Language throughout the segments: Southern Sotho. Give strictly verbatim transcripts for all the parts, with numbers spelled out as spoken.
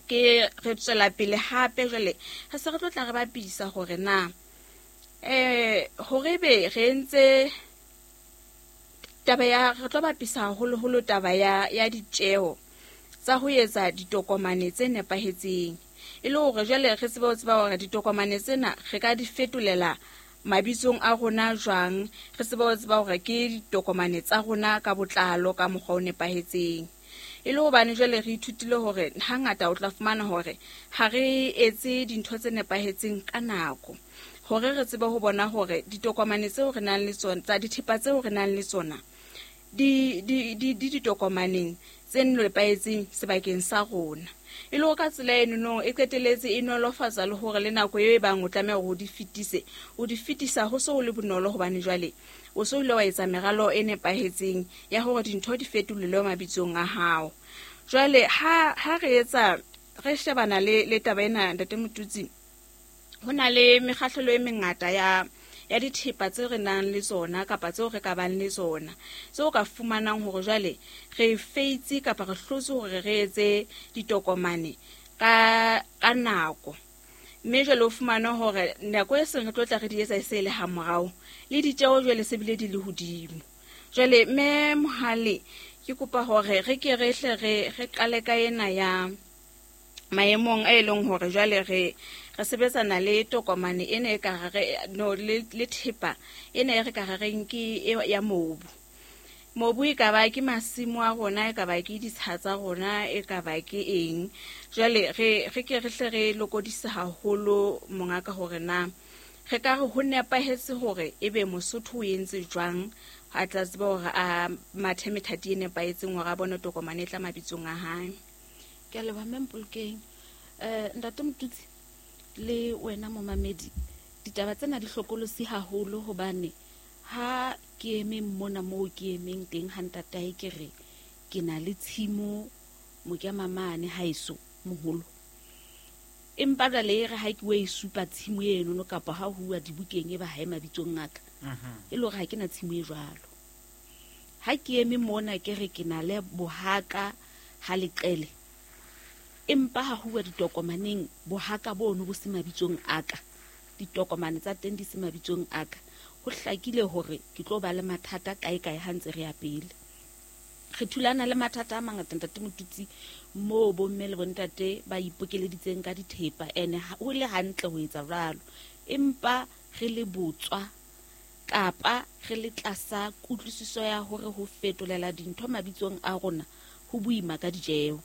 Ke re tswela pele hape jwale re se re tlo tla re bapisa hore na eh hore be re entse taba ya re tlo bapisa haholoholo taba ya ya ditjeo tsa ho etsa ditokomane tse nepahetseng, e le hore jwale re tsebe ho tseba hore ditokomane tsena re ka di fetolela mabitsong a rona jwang, re tsebe ho tseba hore ke ditokomane tsa rona ka botlalo ka mokgwa o nepahetseng. E le hobane jwale re ithutile hore hangata o tla fumana hore ha re etse dintho tse nepahetseng ka nako, hore re tsebe ho bona hore ditokomane tseo re nang le tsona tsa dithepa tseo re nang le tsona di di di di ditokomaneng tse nepahetseng sebakeng sa rona. E le hore ka tsela eno e qetelletse e nolofatsa le hore le nako eo e bang o tlameha hore o di fetise, o di fetisa ho so ho le bonolo, hobane jwale o so ile wa etsa meralo e nepahetseng ya hore dintho di fetolelwe mabitsong a hao. Jwale ha ha re etsa re shebana le le taba ena, Ntate Motutsi, ho na le mekgahlelo e mengata ya ya dithepa tse re nang le tsona kapa tseo re ka bang le tsona, tseo ka fumanang hore jwale re feitse kapa re hlotse hore re etse ditokomane ka ka nako. Mme jwale o fumane hore nako e seng re tlo tla re di etsa e se le ha morao, le ditjeo jwale se bile di le hodimo. Jwale mme Mohale, ke kopa hore re ke re hle re re qale ka ena ya maemong a e leng hore jwale re re sebetsana le tokomane ena e ka re no le le thepa ena e re ka re reng ke e ya mobu. Mobu e ka ba ke masimo a rona, e ka ba ke ditsha tsa rona, e ka ba ke eng. Jwale re re ke re hle re lokodisa haholo mongaka hore na re ka re ho nepahetse hore ebe Mosotho o entse jwang a tla tseba hore a mathe methati e nepahetseng hore a bone tokomane e tla mabitsong a hae. Ke a leboha mme Mpolokeng. Eh Ntate Motutsi le wena momamedi, ditaba tsena di hlokolosi haholo hobane ha ke eme mona moo ke emeng teng ha ntatae ke re ke na le tshimo Mokemamane haeso moholo, empa jwale e re ha ke o e supa tshimo eno no kapa ha huwa dibukeng e ba hae mabitsong a ka, e le hore ha ke na tshimo e jwalo. Ha ke eme mona ke re ke na le bohaka ha leqele, empa ha huwa ditokomaneng bohaka bono bo se mabitsong a ka, ditokomane tsa teng di se mabitsong a ka, ho hlakile hore ke tlo ba le mathata kae kae ha ntse re ya pele. Re thulana le mathata a mangata Ntate Motutsi, moo bomme le bontate ba ipokeleditseng ka dithepa, ene ho le hantle ho etsa jwalo, empa re le botswa kapa re le tlasa kutlwisiso ya hore ho fetolela dintho mabitsong a rona ho boima ka ditjeo.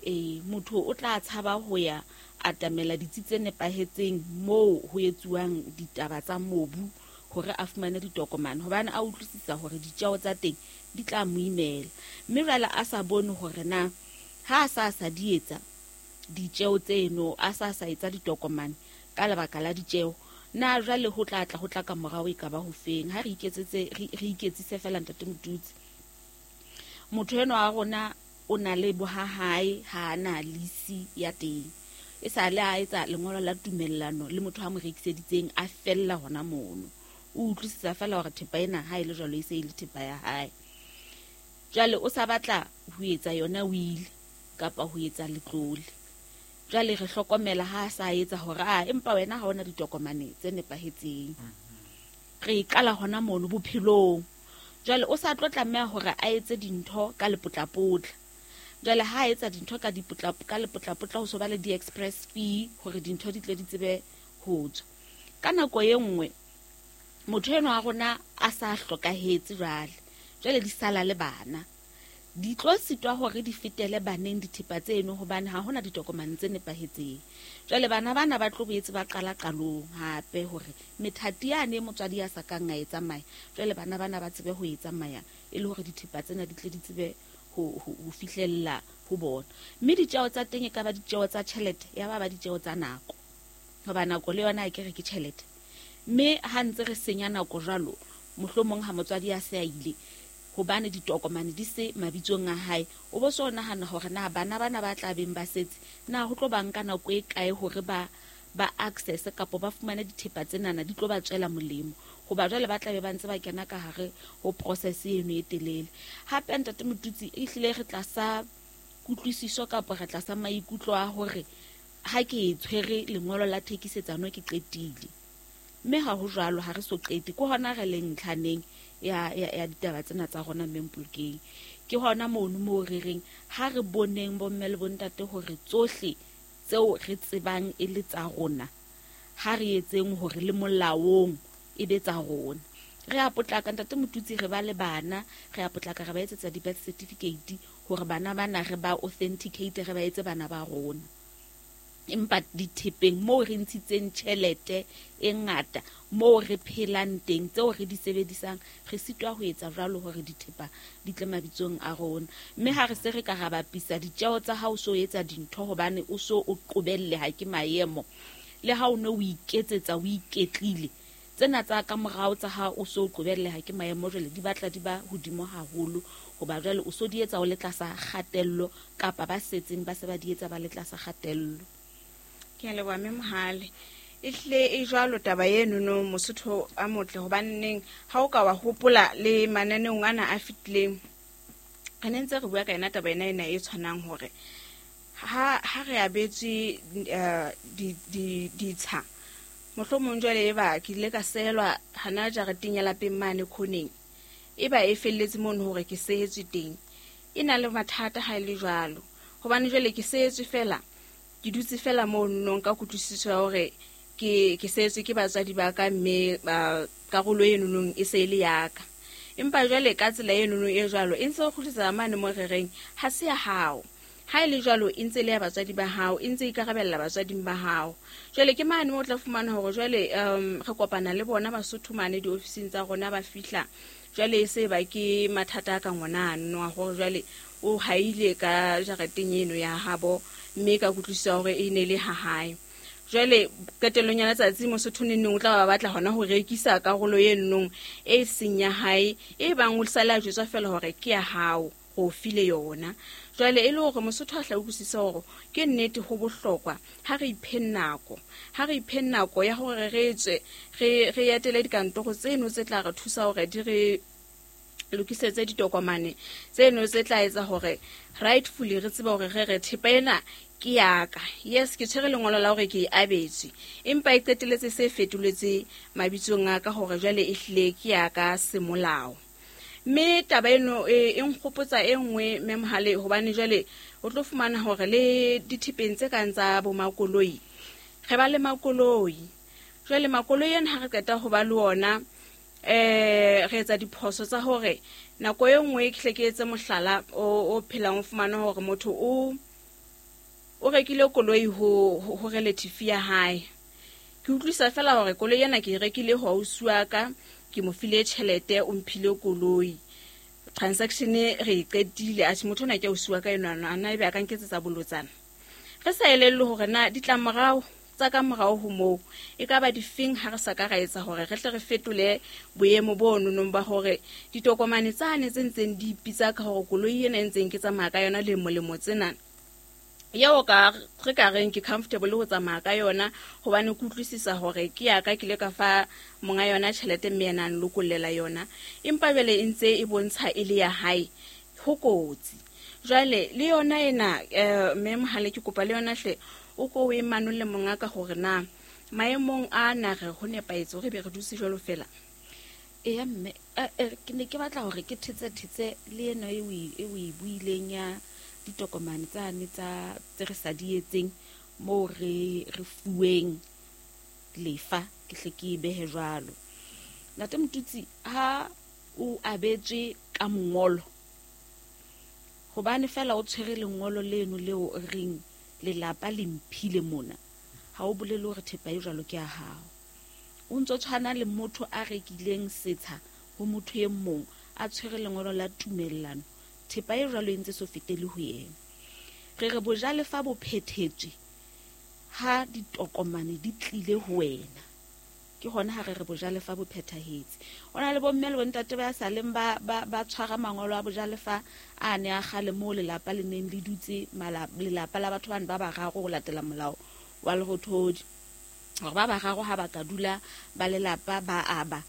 E motho o tla tshaba ho ya atamela ditsi tse nepahetseng moo ho etsuwang ditaba tsa mobu hore a fumane ditokomane, hobane a utlwisisa hore ditjeo tsa teng di tla mo imela. Mme jwale a sa bone hore na ha a sa sa di etsa ditjeo tseno, a sa sa etsa ditokomane ka lebaka la ditjeo, na jwale ho tla tla ho tla ka morao e ka ba ho feng. Ha re iketsetse re iketsise fela Ntate Motutsi, motho enwa wa rona o na le bohahae, ha ana lisi ya teng, e sa le a etsa lengolo la tumellano le motho a mo rekiseditseng, a fella hona mono. O utlwisisa fela hore thepa ena ha e le jwalo e se e le thepa ya hae. Jwale o sa batla ho etsa yona will kapa ho etsa letlole. Jwale re hlokomela ha a sa etsa hore a empa wena ha ona ditokomane tse nepahetseng. Re qala hona mono bophelong. Jwale o sa tlo tlameha hore a etse dintho ka lepotlapotla. Jwale ha a etsa dintho ka dipotla ka lepotlapotla ho so ba le di-express fee hore dintho di tle di tsebe ho tswa. Ka nako e nngwe motho enwa wa rona a sa hlokahetse jwale, jwale di sala le bana, di tlo sitwa hore di fetele baneng dithepa tseno hobane ha hona ditokomane tse nepahetseng. Jwale bana bana ba tlo boetse ba qala qalong hape hore methati yane motswadi a sa kang a e tsamaya, jwale bana bana ba tsebe ho e tsamaya e le hore dithepa tsena di tle di tsebe ho ho fihlella ho bona. Mme ditjeo tsa teng e ka ba ditjeo tsa tjhelete, ya ba ba ditjeo tsa nako, hoba nako le yona e ke re ke tjhelete. Mme ha ntse re senya nako jwalo, mohlomong ha motswadi a se a ile hobane ditokomane di se mabitsong a hae, o bo so nahana hore na bana bana ba tla beng ba setse na ho tlo ba nka nako e kae hore ba ba access kapa ba fumane dithepa tsenana di tlo ba tswela molemo, hoba jwale ba tla be ba ntse ba kena ka hare ho process eno e telele. Hape Ntate Motutsi, ehlile re tlasa Kutlwisiso kapa re tlasa maikutlo a hore ha ke e tshwere lengolo la thekisetsano ke qetile. Mme ha ho jwalo, ha re so qete. Ke hona re leng ntlhaneng ya, ya, ya ditaba tsena tsa rona mme Mpolokeng. Ke hona mono moo re reng ha re boneng bomme le bontate hore tsohle tseo re tsebang e le tsa rona, ha re etseng hore le molaong e be tsa rona. Re a potlaka ntate Motutsi, re ba le bana, re a potlaka re ba etsetsa di-birth certificate hore bana bana re ba authenticate, re ba etse bana ba rona. Empa dithepeng moo re ntshitseng tjhelete e ngata, moo re phelang teng, tseo re di sebedisang, re sitwa ho etsa jwalo hore dithepa di tle mabitsong a rona. Mme ha re se re ka ra bapisa ditjeo tsa ha o so etsa dintho hobane o so o qobelle ha ke maemo, le ha o ne o iketsetsa o iketlile, tsena tsa ka morao tsa ha o so qobelle ha ke maemo jwale di batla di ba hodimo haholo, hoba jwale o so di etsa o le tlasa kgatello, kapa ba setseng ba se ba di etsa ba le tlasa kgatello. Ke a leboha mme Mohale. Ehlile e jwalo taba eno no Mosotho a motle, hobaneng ha o ka wa hopola le mananeong ana a fetileng, re ne ntse re bua ka yona taba ena ena e tshwanang hore ha, ha re abetswe, eh, di, di, ditsha, mohlomong jwale e ba ke ile ka sehelwa hana jareteng ya lapeng mane khoneng, e ba e felletse mono hore ke sehetswe teng. E na le mathata ha e le jwalo, hobane jwale ke sehetswe fela, ke dutse fela mono nka kutlwisiso ya hore ke, ke sehetswe ke batswadi ba ka, mme ba karolo eno nong e se e le ya ka. Empa jwale ka tsela eno nong e jwalo e ntse e kgutlisetsa mane mo re reng ha se ya hao. Ha e le jwalo e ntse le ya batswadi ba hao, e ntse e ikarabella batswading ba hao. Jwale ke mane mo o tla fumana hore jwale, um, re kopana le bona Basotho mane diofising tsa rona ba fihla, jwale e se ba ke mathata a ka ngwana ano a hore jwale o haile ka jareteng eno ya habo, mme ka kutlwisiso hore e ne le ha hae. Jwale qetellong ya letsatsi Mosotho neneng o tla ba batla hona ho rekisa karolo eno e seng ya hae, e bang o sale a jwetswa feela hore ke ya hao, o file yona. Jwale e le hore Mosotho a hla utlwisise hore ke nnete ho bohlokwa ha re ipheng nako, ha re ipheng nako ya hore re tswe, re, re etele dikantoro tseno tse tla re thusa hore di re lokisetse ditokomane tseno tse tla etsa hore rightfully re tsebe hore re re thepa ena ke ya ka. Yes, ke tshwere lengolo la hore ke e abetswe, empa e qetelletse se fetoletse mabitsong a ka hore jwale e hlile ke ya ka semolao. Mme taba eno e, e nkgopotsa e nngwe mme Mohale, hobane jwale o tlo fumana hore le dithepeng tse kang tsa bo makoloi, re ba le makoloi. Jwale makoloi ana ha re qeta ho ba le ona, eh, re etsa diphoso tsa hore nako e nngwe ke hle ke etse mohlala o, o phelang o fumana hore motho o, o rekile koloi ho, ho, ho relative ya hae. Ke utlwisa fela hore koloi ena ke e rekile ho ausi wa ka, ke mo file tjhelete, o mphile koloi. Transaction re e qetile, atjhe motho ona ke ausi wa ka enwa, ana ebe a ka nketsetsa bolotsana. Re sa elellwe hore na ditlamorao tsa ka morao ho moo e ka ba difeng ha re sa ka ra etsa hore re tle re fetole boemo bo nonong ba hore ditokomane tsane tse ntseng di ipitsa ka hore koloi ena e ntseng ke tsamaya ka yona lemo lemo tsena, eo ka re ka reng ke comfortable ho tsamaya ka yona, hobane ke utlwisisa hore ke ya ka, ke ile ka fa monga yona tjhelete mme yena a nlokollela yona, empa jwale e ntse e bontsha e le ya hae, ho kotsi. Jwale le yona ena, eh, mme Mohale ke kopa le yona hle o ko o e manolle monga ka hore na maemong a na re ho nepahetse hore be re dutse jwalo fela. Eya mme, eh, eh, ke ne ke batla hore ke thetse thetse le eno e o e, e o e buileng ya ditokomane tsane tsa tse re sa di etseng moo re, re fuweng lefa, ke hle ke e behe jwalo. Ntate Motutsi, ha o abetswe ka mongolo, hobane fela o tshwere lengolo leno leo o reng lelapa le mphile mona, ha o bolele hore thepa e jwalo ke ya hao. O ntso tshwana le motho a rekileng setsha ho motho e mong, a tshwere lengolo la tumellano, thepa e jwalo e ntse so fetele ho yena. Re re bojalefa bo phethetswe ha ditokomane di tlile ho wena, ke hona ha re re bojalefa bo phethahetse. Ho na le bomme le bontate ba sa leng ba, ba, ba tshwara mangolo a bojalefa a ne a kgale moo lelapa le neng le dutse, mala-, lelapa la batho bana ba bararo ho latela molao wa Lerothodi, hore ba bararo ha ba ka dula ba lelapa ba aba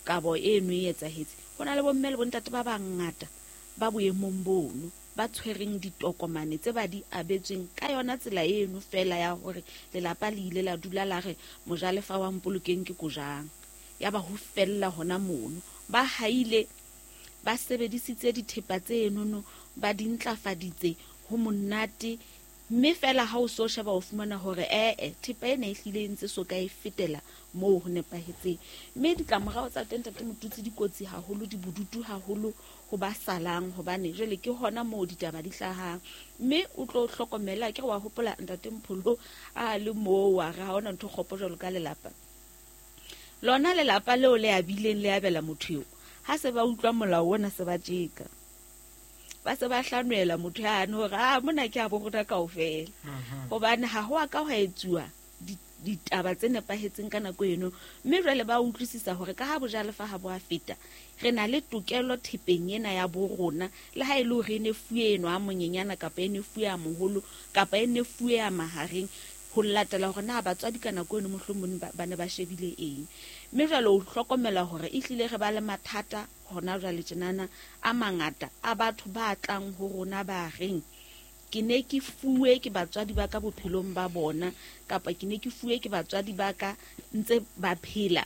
kabo eno e etsahetse. Ho na le bomme le bontate ba bangata ba boemong bono. ba tshwereng ditokomane tse ba di abetsweng ka yona tsela eno fela ya hore lelapa le ile la dula la re mojalefa wa Mpolokeng ke Kojang, ya ba ho fella hona mono. Ba haile ba sebedisitse dithepa tse enono, ba di ntlafaditse ho monate, mme fela ha o so sheba o fumana hore ee thepa ena e hlile e ntse so ka e fetela moo ho nepahetseng. Mme ditlamorao tsa teng Ntate Motutsi di kotsi haholo, di bodutu haholo ho ba salang, hobane jwale ke hona moo ditaba di hlahang. Mme o tlo hlokomela, ke re wa hopola Ntate Mpholo a le moo wa re ha hona ntho kgopo jwalo ka lelapa. Lona lelapa leo le abileng le abela motho eo, ha se ba utlwa molao ona se ba tjeka, ba se ba hlanwela motho yane hore a mona ke a bo rona kaofela, hobane ha ho a ka hwa etsuwa ditaba tse nepahetseng ka nako eno. Mme jwale ba utlwisisa hore ka ha bojalefa ha bo a feta, re na le tokelo thepeng ena ya bo rona, le ha e le hore e ne fuwe eno a monyenyana kapa e ne fuwe a moholo kapa e ne fuwe a mahareng, ho latela hore na batswadi ka nako eno mohlomong ba ne ba shebile eng. Mme jwale o hlokomela hore ehlile re ba le mathata hona jwale tjenana a mangata a batho ba tlang ho rona ba reng ke ne ke fuwe ke batswadi ba ka bophelong ba bona, kapa ke ne ke fuwe ke batswadi ba ka ntse ba phela,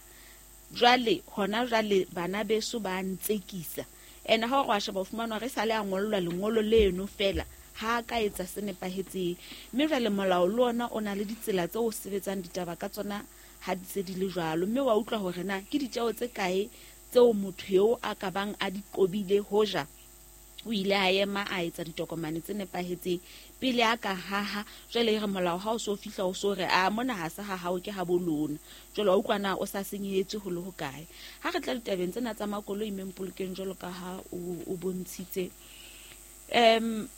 jwale hona jwale bana beso ba ntsekisa. Ene ha o re wa sheba o fumana re sale a ngollwa lengolo leno fela, ha ka etsa se nepahetseng. Mme jwale molao le ona o na le ditsela tse o sebetsang ditaba ka tsona ha di se di le jwalo. Mme wa utlwa hore na ke ditjeo tse kae tseo motho eo a ka bang a di qobile hoja o ile a ema a etsa ditokomane tse nepahetseng pele a ka haha. Jwale e re molao ha o so fihla o so re a mona ha se ha hao ke ha bo lona, jwale wa utlwa na o sa senyehetswe ho le hokae. Ha re tla ditabeng tsena tsa makoloi Mpolokeng jwalo ka ha o bontshitse, um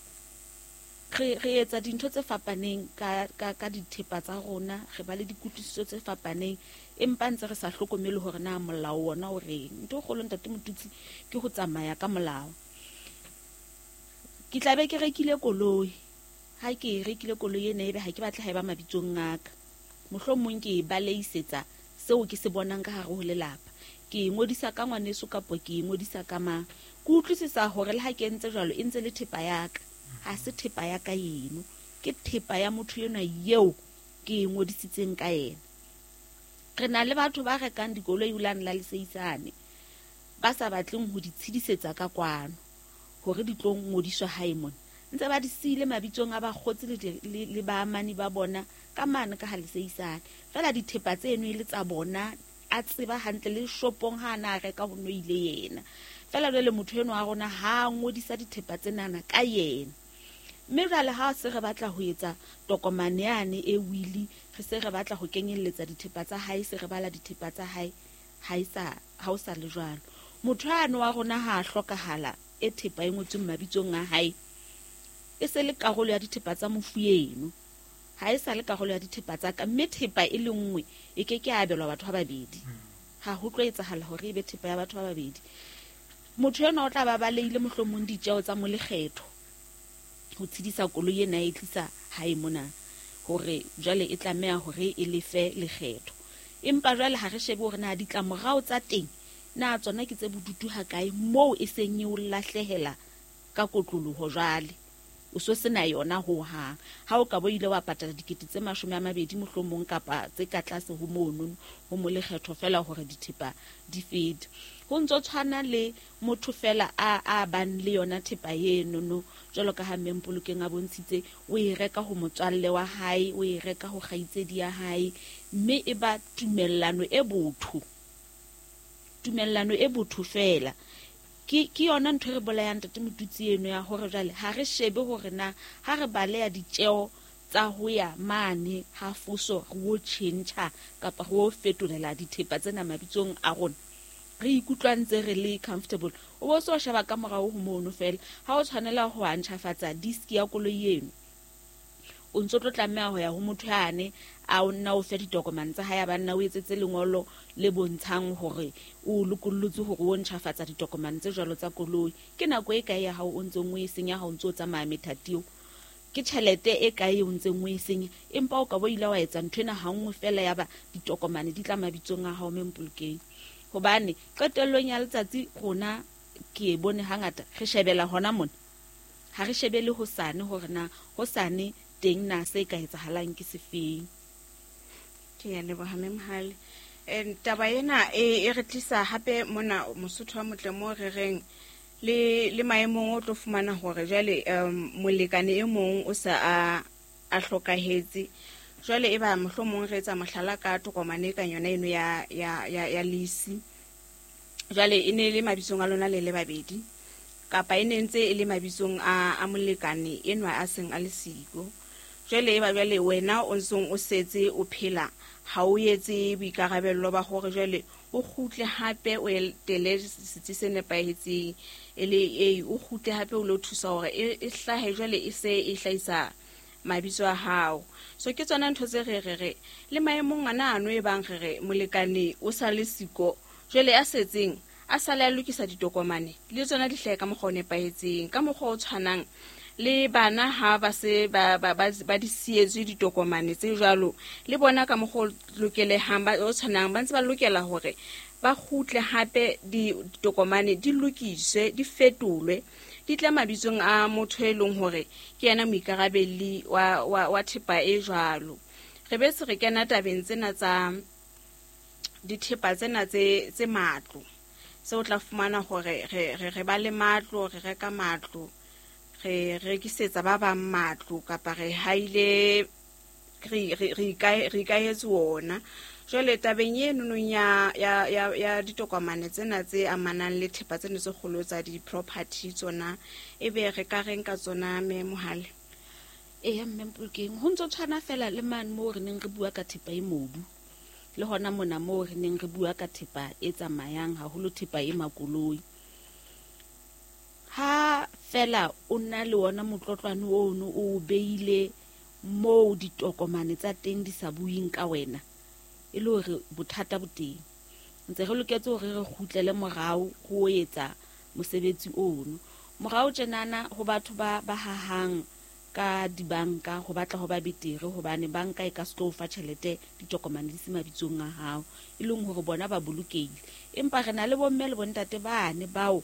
re re etsa dintho tse fapaneng ka ka ka dithepa tsa rona, re ba le dikutlwisiso tse fapaneng, empa ntse re sa hlokomele hore na molao ona o reng. Ntho e kgolo Ntate Motutsi ke ho tsamaya ka molao. Ke tla be ke rekile koloi, ha ke rekile koloi ena ebe ha ke batle ha e ba mabitsong a ka, mohlomong ke e baleisetsa seo ke se bonang ka hare ho lelapa, ke e ngodisa ka ngwaneso kapa ke e ngodisa ka mang. Ke utlwisisa hore le ha ke entse jwalo e ntse le thepa ya ka, ha se thepa ya ka eno, ke thepa ya motho enwa eo ke e ngodisitseng ka yena. Re na le batho ba rekang dikoloi ulane la leseisane ba sa batleng ho di tshidisetsa ka kwano hore di tlo ngodiswa hae mona, ntse ba di siile mabitsong a bakgotsi le le baamani ba bona ka mane ka ha leseisane fela. Dithepa tseno e le tsa bona, a tseba hantle le shopong ha ana a reka ho no ile yena fela. Jwale motho enwa wa rona ha ngodisa dithepa tsenana ka yena. Mme jwale ha se re batla ho etsa tokomane yane e wili, re se re batla ho kenyelletsa dithepa tsa hae, se re bala dithepa tsa hae, ha e sa ha o sa le jwalo. Motho ano wa rona ha a hlokahala, e thepa e ngotsweng mabitsong a hae e se le karolo ya dithepa tsa mofu eno, ha e sa le karolo ya dithepa tsa ka. Mme thepa e le nngwe e ke ke abelwa batho ba babedi, ha ho tlo etsahala hore e be thepa ya batho ba babedi. Motho enwa o tla ba baleile mohlomong ditjeo tsa molekgetho ho tshedisa koloi ena e tlisa hae mona, hore jwale e tlameha hore e lefe lekgetho. Empa jwale ha re shebe hore na ditlamorao tsa teng na tsona ke tse bodutu ha kae, moo e seng e o lahlehela ka kotloloho jwale o so sena yona ho hang. Ha o ka bo ile wa patala dikete tse mashome a mabedi mohlomong kapa tse ka tlase ho mono ho molekgetho fela hore dithepa di fete. Ho ntso tshwana le motho fela a a bang le yona thepa eno no, jwalo ka ha Mpolokeng a bontshitse, o e reka ho motswalle wa hae, o e reka ho kgaitsedi ya hae, mme e ba tumellano e botho, tumellano e botho fela. Ke ke yona ntho e re bolayang Ntate Motutsi eno ya hore jwale ha re shebe hore na ha re baleya ditjeo tsa ho ya mane ha foso re o tjhentjha kapa re o fetolela dithepa tsena mabitsong a rona, re ikutlwa ntse re le comfortable. O bo so sheba ka morao ho mono fela, ha o tshwanela ho ntjhafatsa disk ya koloi eno, o ntso tlo tlameha ho ya ho motho yane a o nna o fe ditokomane tsa hae, ba nna o etsetse lengolo le bontshang hore o lokollotse hore o ntjhafatsa ditokomane tse jwalo tsa koloi. Ke nako e kae ya hao o ntseng o e senya ha o ntso tsamaya methati eo? Ke tjhelete e kae o ntseng o e senya? Empa o ka bo ile wa etsa ntho ena ha nngwe fela ya ba ditokomane di tla mabitsong a hao Mpolokeng. Hobane qetellong ya letsatsi rona ke e bone hangata re shebela hona mona, Ha re shebe le hosane hore na hosane teng na se ka etsahalang ke sefeng. Ke ya leboha Mme Mohale. Eh taba ena e e re tlisa hape mona Mosotho wa motle mo re reng le le maemong o tlo fumana hore jwale um molekane e mong o sa a a hlokahetse. Jwale e ba mohlomong re etsa mohlala ka tokomane ka yona eno ya ya ya, ya lease. Jwale e ne le mabitsong a lona le le babedi kapa e ne ntse e le mabitsong a a molekane enwa a seng a le siko. Jwale e ba jwale wena o ntsong o setse o phela ha o etse boikarabello ba hore jwale o kgutle hape o etele setsi se nepahetseng e le e o kgutle hape o lo thusa hore e hlahe jwale e se e hlahisa mabitso a hao. So ke tsona ntho tse re re re le maemong ana ano e bang re re molekane o sa le siko jwale a setseng a sale a lokisa ditokomane le tsona di hlahe ka mokgwa o nepahetseng ka mokgwa o tshwanang le bana ha ba se ba ba ba di sietswe ditokomane tse jwalo le bona ka mokgwa o lokelehang ba o tshwanang ba ntse ba lokela hore ba kgutle hape ditokomane di lokiswe di fetolwe di tle mabitsong a motho e leng hore ke yena moikarabelli wa wa wa thepa e jwalo. Re be se re kena tabeng tsena tsa dithepa tsena tse tse matlo. Se o tla fumana hore re re re ba le matlo, re reka matlo, re rekisetsa ba bang matlo kapa re haile re re re ikahetse wona. Jwale tabeng eno nong ya ya ya ya ditokomane tsena tse amanang le thepa tsena tse kgolo tsa di-property tsona e be re ka reng ka tsona Mme Mohale? Eya Mme Mpolokeng, ho ntso tshwana fela le mane moo re neng re bua ka thepa e mobu le hona mona moo re neng re bua ka thepa e tsamayang haholo thepa e makoloi. Ha fela o na le wona motlotlwane ono o beile moo ditokomane tsa teng di sa buing ka wena e le hore bothata bo teng. Ntse re loketse hore re kgutlele morao ho etsa mosebetsi ono. Morao tjenana ho batho ba ba hahang ka dibanka ho batla ho ba betere hobane banka e ka se tlo fa tjhelete ditokomane di se mabitsong a hao e leng hore bona ba bolokehile. Empa re na le bomme le bontate bane bao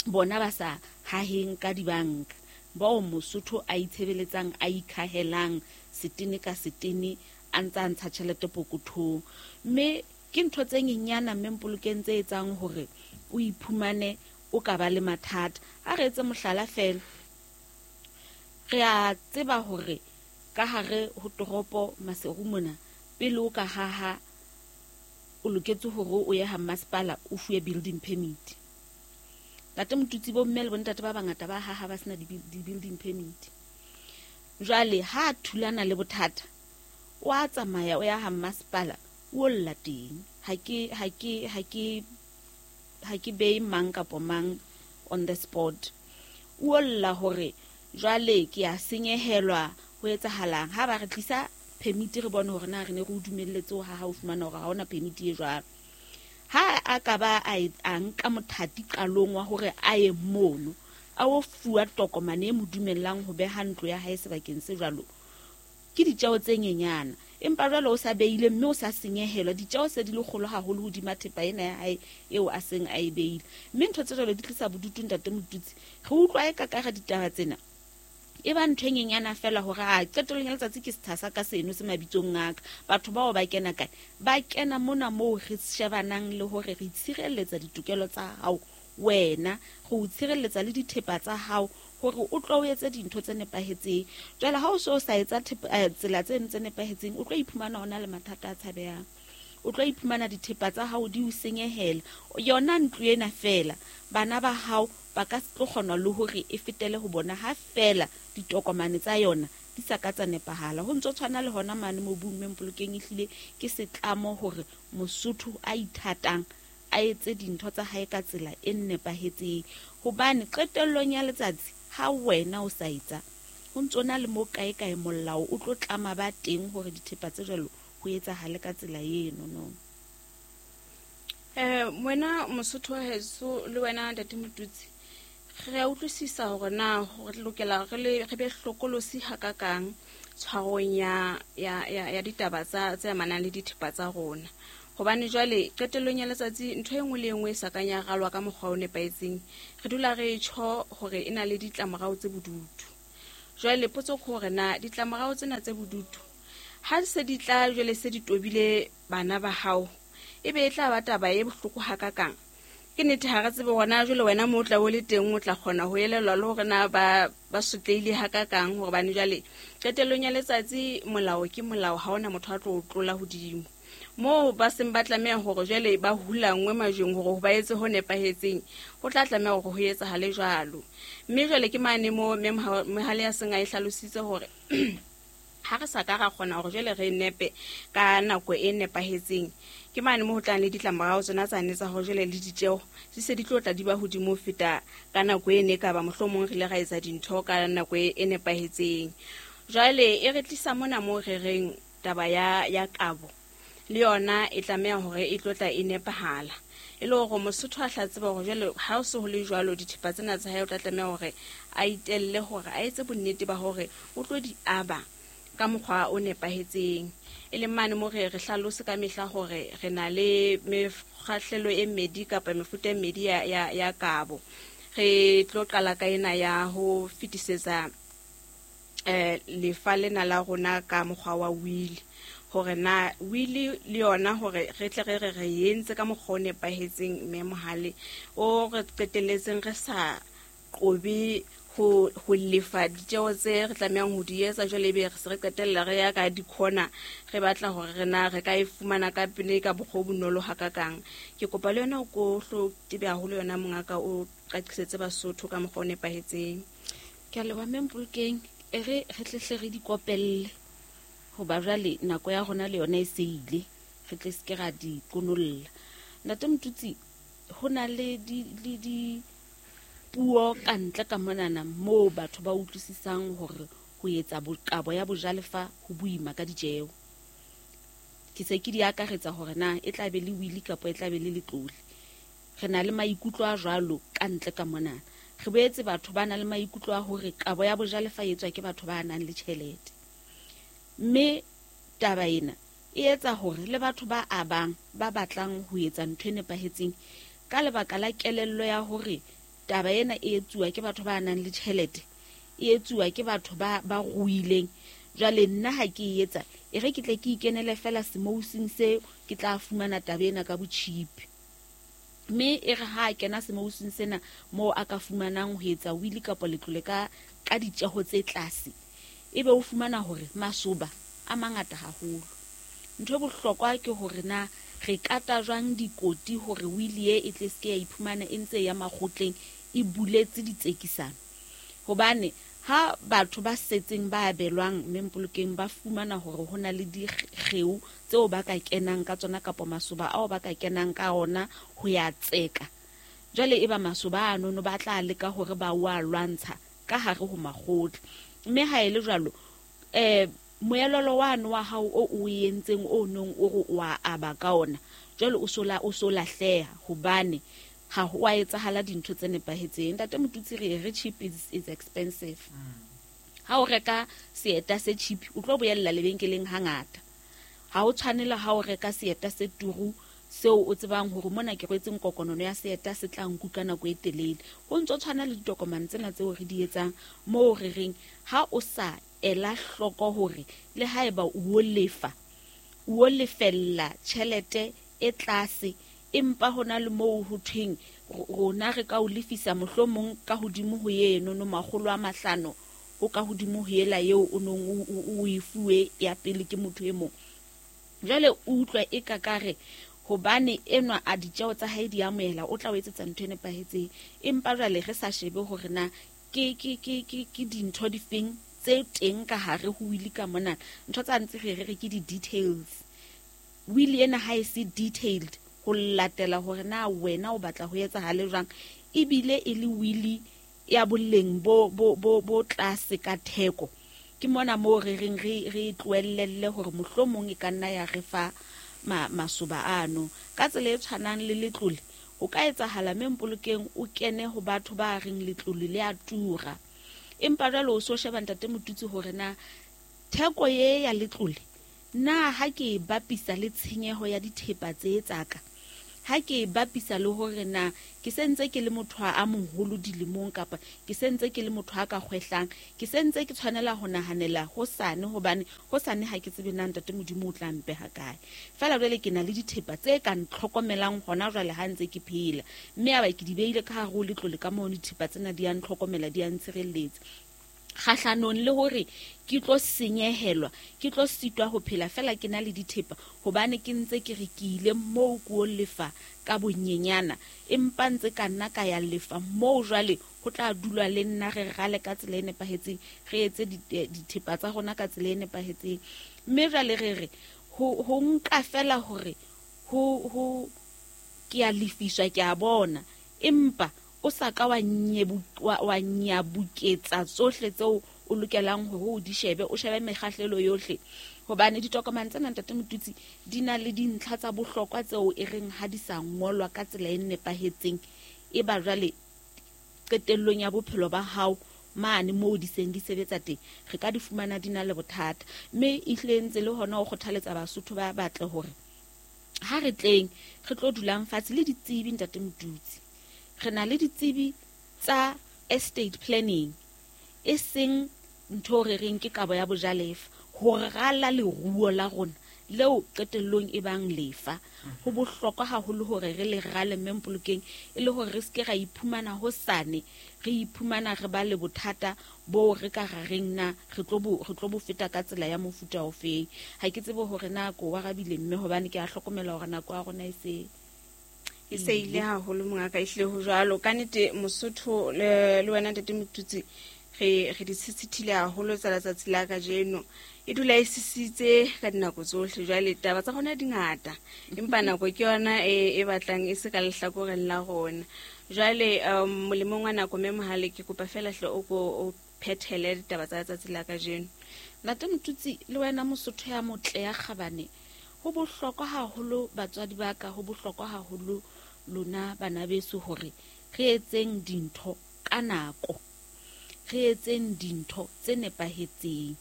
bona ba sa haheng ka dibanka bao Mosotho a itshebeletsang a ikhahelang setene ka setene a ntsa ntsha tjhelete pokothong. Mme ke ntho tse nyenyana Mme Mpolokeng tse etsang hore o iphumane o ka ba le mathata. Ha re etse mohlala fela, re a tseba hore ka hare ho toropo Maseru mona pele o ka haha o loketse hore o ye ha masepala o fuwe building permit. Ntate Motutsi bo mme le bontate ba bangata ba haha ba sena di-building permit. Jwale ha thulana le bothata o a tsamaya o ya ha masepala o lla teng. Ha ke ha ke ha ke ha ke be mang kapa mang on the spot. O lla hore jwale ke a senyehelwa ho etsahalang ha ba re tlisa permit re bone hore na re ne re o dumelletse ho haha o fumana hore ha hona permit e jwalo. Ha a ka ba a nka mothati qalong wa hore a ye mono a o fuwa tokomane e mo dumellang ho beha ntlo ya hae sebakeng se jwalo ke ditjeo tse nyenyana. Empa jwale o sa beile mme o sa senyehelwa ditjeo se di le kgolo haholo hodima thepa ena ya hae eo a seng a e beile. Mme ntho tse jwalo di tlisa bodutu ntate Motutsi. Re utlwa e ka ka ditaba tsena e ba ntho e nyenyana fela hore a qetellong ya letsatsi ke setha sa ka seno se mabitsong a ka. Batho bao ba kena kae? Ba kena mona moo re shebanang le hore re tshireletsa ditokelo tsa hao wena, re o tshireletsa le dithepa tsa hao hore o tlo o etse dintho tse nepahetseng. Jwale ha o so sa etsa tsela tseno tse nepahetseng o tlo iphumana o na le mathata a tshabehang. O tlo iphumana dithepa tsa hao di o senyehela. Yona ntlo ena fela bana ba hao ba ka se tlo kgona le hore e fetele ho bona ha fela ditokomane tsa yona di sa ka tsa nepahala. Ho ntso tshwana le hona mane mobung Mme Mpolokeng ehlile ke setlamo hore Mosotho a ithatang a etse dintho tsa hae ka tsela e nepahetseng. Hobane qetellong ya letsatsi ha wena o sa etsa ho ntso na le mo kae kae molao o tlo tlama ba teng hore dithepa tse jwalo ho etsahale ka tsela eno no. Eh wena Mosotho wa heso le wena Ntate Motutsi re a utlwisisa hore na re lokela re le re be hlokolosi hakakang tshwarong ya ya ya ditaba tsa tse amanang le dithepa tsa rona. Hobane jwale qetellong ya letsatsi ntho e nngwe le e nngwe e sa kang ya ralwa ka mokgwa o nepahetseng, re dula re tjho hore e na le ditlamorao tse bodutu. Jwale potso ke hore na ditlamorao tsena tse bodutu ha se di tla jwale se di tobile bana ba hao, e be e tla ba taba e bohloko hakakang? Ke nnete ha re tsebe hona jwale wena mo o tla o le teng o tla kgona ho elellwa le hore na ba ba sotlehile hakakang, hobane jwale qetellong ya letsatsi molao ke molao, ha hona motho a tlo o tlola hodimo. Moo ba seng ba tlameha hore jwale ba hulangwe majweng hore ba etse ho nepahetseng, ho tla tlameha hore ho etsahale jwalo. Mme jwale ke mane mo mme Mohale ya seng a e hlalositse hore ha re sa ka ra kgona hore jwale re nepe ka nako e nepahetseng, ke mane mo ho tlang le ditlamorao tsona tsane tsa hore jwale le ditjeho di se di tlo tla di ba hodimo ho feta ka nako e ne ka ba mohlomong re ile ra etsa dintho ka nako e nepahetseng. Jwale e re tlisa mona moo re reng taba ya ya kabo le yona e tlameha hore e tlo tla e nepahala, e le hore Mosotho a hla tseba hore jwale ha o se ho le jwalo dithepa tsena tsa hae o tla tlameha hore a itelle hore a etse bonnete ba hore o tlo di aba ka mokgwa o nepahetseng. E leng mane mo re re hlalose ka mehla hore re na le mekgahlelo e mmedi kapa mefuta e mmedi ya, ya, ya kabo. Re tlo qala ka ena ya ho fetisetsa eh lefa lena la rona ka mokgwa wa will, hore na will le yona hore re tle re re re entse ka mokgwa o nepahetseng mme Mohale o re qetelletseng re sa qobe ho ho lefa ditjeho tse re tlamehang ho di etsa, jwale ebe re se re qetella re ya ka dikhona re batla hore re na re ka e fumana ka pele ka bokgwa bo bonolo hakakang. Ke kopa le yona o ko hlo tebe haholo yona mongaka o qaqisetse Basotho ka mokgwa o nepahetseng. Ke a leboha mme Mpolokeng, e re re tle hle re di kopelle hoba jwale nako ya rona le yona e se ile, re tle se ke ra di konolla. Ntate Motutsi, ho na le di le di puo ka ntle ka monana moo batho ba utlwisisang hore ho etsa kabo ya bojalefa ho boima ka ditjeho. Ke se ke di akaretsa hore na e tla be le wili kapa e tla be le letlole. Re na le maikutlo a jwalo ka ntle ka monana. Re boetse batho ba na le maikutlo a hore kabo ya bojalefa e etswa ke batho ba nang le tjhelete. Mme taba ena e etsa hore le batho ba abang ba batlang ho etsa ntho e nepahetseng ka lebaka la kelello ya hore taba ena e etsuwa ke batho ba nang le tjhelete, e etsuwa ke batho ba ba ruileng. Jwale nna ha ke e etsa, e re ke tle ke ikenele fela semousing seo, ke tla fumana taba ena ka botjhipi. Mme e re ha a kena semousing sena moo a ka fumanang ho etsa wili kapa letlole ka ka ditjeho tse tlase, ebe o fumana hore masoba a mangata haholo. Ntho e bohlokwa ke hore na re kata jwang dikoti hore wili e e tle se ke ya iphumana e ntse ya makgotleng e buletse ditsekisano. Hobane ha batho ba setseng ba abelwang mme Mpolokeng ba fumana hore ho na le dikgeo tseo ba ka kenang ka tsona kapa masoba ao ba ka kenang ka ona ho ya tseka, jwale e ba masoba ano ba tla leka hore ba wa lwantsha ka hare ho makgotla. Mme ha e le jwalo eh moelolo wano wa hao o o entseng o nong o re o a aba ka ona, jwale o sola o so lahleha hobane ha ho a etsahala dintho tse nepahetseng. Ntate Motutsi, re re cheap is, is expensive. Ha o reka seeta se cheap o tlo boella lebenkeleng hangata. Ha o tshwanela ha o reka seeta se turu seo o tsebang hore mona ke rwetse nkokonono ya seeta se tla nkuka nako e telele. Ho ntso tshwana le ditokomane tsena tseo re di etsang moo re reng ha o sa ela hloko hore le haeba o lefa o lefella tjhelete e tlase, empa hona le moo ho thweng rona re ka o lefisa mohlomong ka hodimo ho eno no makgolo a mahlano ho ka hodimo ho ela eo o nong o e fuwe ya pele ke motho e mong. Jwale o utlwa e ka kare hobane enwa a ditjeho tsa hae di amohela o tla o etsetsa ntho e nepahetseng, empa jwale re sa shebe hore na ke ke ke ke ke dintho difeng tse teng ka hare ho wili ka mona. Ntho tsa ntse re re ke di-details. Wili ena ha e se detailed ho latela hore na wena o batla ho etsahale jwang, ebile e le wili ya boleng bo bo bo bo tlase ka theko. Ke mona moo re reng re re tlohellelle hore mohlomong e ka nna ya re fa ma masoba ano. Ka tsela e tshwanang le letlole, o ka etsahala mme Mpolokeng o kene ho batho ba reng letlole le a tura, empa jwale o so sheba ntate Motutsi hore na theko ye ya letlole Na ha ke e bapisa le tshenyeho ya dithepa tse tsaka, ha ke e bapisa le hore na ke sentse ke le motho a moholo dilemong kapa ke sentse ke le motho a ka kgwehlang, ke sentse ke tshwanela ho nahanela hosane, hobane hosane ha ke tsebe na ntate Modimo o tla mpeha kae. Fela jwale ke na le dithepa tse ka ntlhokomelang hona jwale ha ntse ke phela, mme aba ke di beile ka hare ho letlole ka mono, dithepa tsena di a ntlhokomela, di a ntshireletsa kgahlanong le hore ke tlo senyehelwa, ke tlo sitwa ho phela fela ke na le dithepa, hobane ke ntse ke re ke ile moo ko lefa ka bonyenyana, empa ntse ka nna ka ya lefa moo jwale ho tla dulwa le nna re rale ka tsela e nepahetseng, re etse dithepa tsa rona ka tsela e nepahetseng. Mme jwale re re ho ho nka fela hore ho ho ke a lefiswa, ke a bona, empa o sa ka wa nyebu wa nyabuketsa tsohle tseo o lokelang hore o di shebe, o shebe mekgahlelo yohle, hobane ditokomane tsena ntate Motutsi di na le dintlha tsa bohlokwa tseo e reng ha di sa ngolwa ka tsela e nepahetseng, e ba jwale qetellong ya bophelo ba hao mane moo di seng di sebetsa teng, re ka di fumana di na le bothata. Mme ehlile ntse le hona ho kgothaletsa Basotho ba batle hore ha re tleng re tlo dulang fatshe le ditsebi ntate Motutsi. Re na le ditsebi tsa estate planning, e seng ntho re reng ke kabo ya bojalefa, ho rala leruo la rona leo qetellong e bang lefa. Ho bohlokwa haholo hore re le rale mme Mpolokeng, e le hore re ske ra iphumana hosane re iphumana re ba le bothata bo re ka rareng na re tlo bo re tlo bo feta ka tsela ya mofuta ofeng. Ha ke tsebe hore nako wa rabile mme, hobane ke a hlokomela hore nako ya rona e se e se ile haholo mongaka, ehlile ho jwalo ka nnete. Mosotho le le wena ntate Motutsi, re re di sisithile haholo tsa letsatsi la kajeno, e dula e sisitse ka dinako tsohle. Jwale taba tsa rona di ngata, empa nako ke yona e e batlang e se ka lehlakoreng la rona. Jwale um molemong wa nako mme Mohale, ke kopa fela hle o ko o phethele ditaba tsa letsatsi la kajeno. Ntate Motutsi le wena Mosotho ya motle ya kgabane, ho bohlokwa haholo batswadi ba ka, ho bohlokwa haholo lona bana beso hore re etseng dintho ka nako, re etseng dintho tse nepahetseng,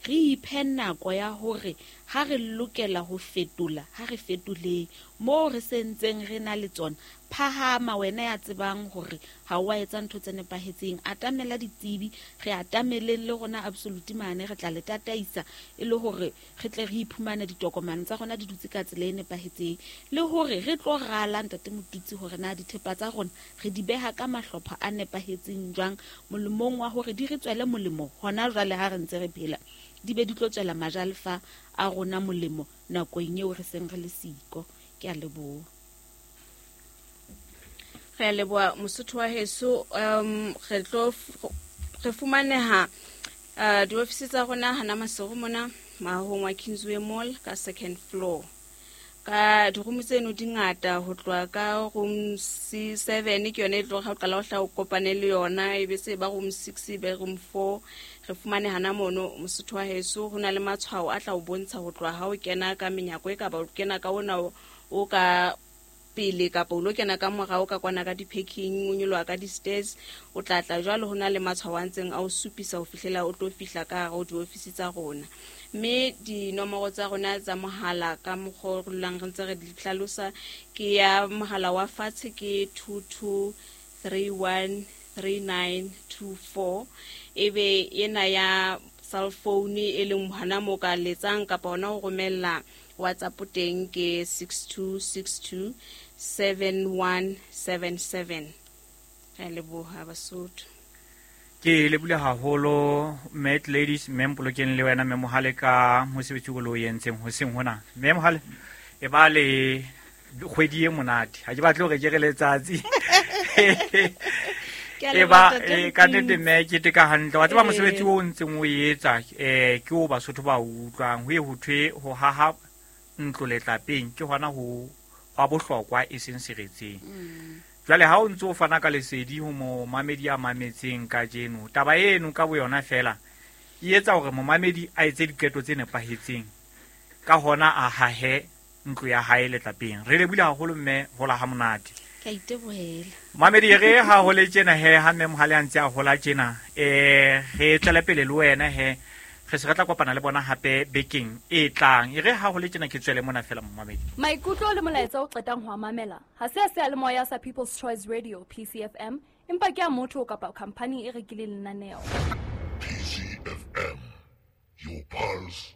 re iphe nako ya hore ha re lokela ho fetola, ha re fetoleng moo re sentseng re na le tsona. Phahama wena ya tsebang hore ha o a etsa ntho tse nepahetseng, atamela ditsebi, re atameleng le rona Absolute mane, re tla le tataisa e le hore re tle re iphumane ditokomane tsa rona di dutse ka tsela e nepahetseng, le hore re tlo rala ntate Motutsi hore na dithepa tsa rona re di beha ka mahlopha a nepahetseng jwang, molemong wa hore di re tswele molemo hona jwale ha re ntse re phela, di be di tlo tswela majalefa a rona molemo nakong eo re seng re le siko. Ke a leboha. Re a leboha Mosotho wa heso. Um re tlo re fumaneha uh, diofisi tsa rona hana Maseru mona mahong wa Kingsway Mall ka second floor. Ka diroom tseno di ngata, ho tloha ka room C seven ke yona e tlo ha o qala ho hla o kopane le yona, e be se ba room six e be room four. Re fumane hana mono Mosotho wa heso, ho na le matshwao a tla o bontsha ho tloha ha o kena ka menyako e ka ba o kena ka ona o ka pele kapa o lo kena ka morao ka kwana ka di-packing, o nyoloha ka di-stairs, o tla tla jwalo. Ho na le matshwao a ntseng a o supisa ho fihlela o tlo fihla ka hare ho diofisi tsa rona. Mme dinomoro tsa rona tsa mohala ka mokgwa o re dulang re ntse re di hlalosa, ke ya mohala wa fatshe ke two two three one three nine two four, ebe ena ya cell phone e leng hona moo ka letsang kapa hona ho romella WhatsApp teng ke six two six two seven one seven seven. Re leboha Basotho. Ke lebule haholo Mat Ladies, mme Mpolokeng le wena mme Mohale ka mosebetsi o lo entseng hoseng hona. Mme Mohale e ba le kgwedi e monate, ha ke batle hore ke re letsatsi. E ba ka nnete mme ke teka hantle, wa tseba mosebetsi o ntseng o etsa eh ke o Basotho ba utlwang ho e ho thwe ho haha ntlo letlapeng ke hona ho hwa bohlokwa e seng seretseng. Jwale ha o ntse o fana ka lesedi ho momamedi a mametseng kajeno, taba eno ka boyona fela e etsa hore momamedi a etse diqeto tse nepahetseng, ka hona a hahe ntlo ya hae letlapeng. Re lebile haholo mme hola ha monate. Ke a itebohela. Mamedi re ha hole tjena he ha mme Mohale a ntse a hola tjena, eh re tswele pele le wena he Re se re tla kopana le bona hape bekeng e tlang. E re ha ho le tjena ke tswele mona fela momamedi. Maikutlo le molaetsa o qetang ho a mamela ha se a seyalemoya sa People's Choice Radio P C F M, empa ke a motho kapa khampani e rekileng lenaneo. P C F M, your pulse.